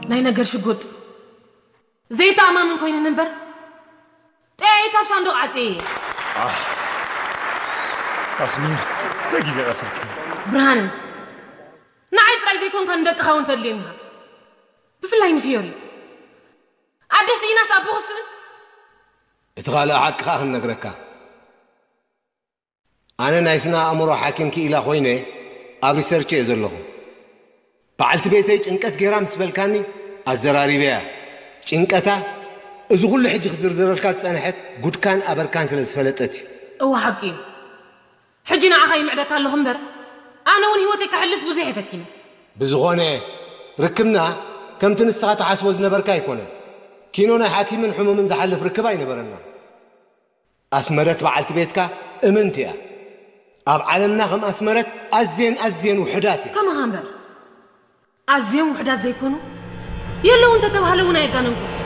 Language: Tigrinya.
ናይ ነገር ሽጉጥ ዘይተኣማምን ኮይንን እምበር፣ ጠያይት ኣብ ሳንዱቕ ዓጽየ እየ። ኣስሚር፣ ክልተ ግዜ ቀሲልክኒ። ብርሃነ፣ ንዓይ ጥራይ ዘይኮንካ ንደቅኻ እውን ተድልዮም ኢኻ። ብፍላይ ንፊዮሪ። ኣደ ስኢናስ ኣቦ ክስእን? እቲ ካልእ ሓቂ ከኣ ክንነግረካ፣ ኣነ ናይ ስነ ኣእምሮ ሓኪም ክኢላ ኮይነ ኣብ ሪሰርች እየ ዘለኹ። በዓልቲ ቤተይ ጭንቀት ገይራ ምስ በልካኒ ኣዘራሪበያ። ጭንቀታ እዚ ኩሉ ሕጂ ክዝርዝረልካ ዝጸንሐት ጉድካን ኣበርካን ስለ ዝፈለጠት እዩ። እወ ሓቂ እዩ። ሕጂ ንዓኻ ይምዕደካ ኣለኹ እምበር፣ ኣነ እውን ህይወተይ ከሕልፍ ብዙሕ እየ ፈቲነ። ብዝኾነ፣ ርክብና ከምቲ ንስኻ ትሓስቦ ዝነበርካ ኣይኮነን። ኪኖ ናይ ሓኪምን ሕሙምን ዝሓልፍ ርክብ ኣይነበረና። ኣስመረት በዓልቲ ቤትካ እምንቲ እያ። ኣብ ዓለምና ከም ኣስመረት ኣዝየን ኣዝየን ውሑዳት እያ። ከማኻ እምበር፣ ኣዝዮም ውሑዳት ዘይኮኑ የለዉ እንተተባህለ እውን ኣየጋነንኩ።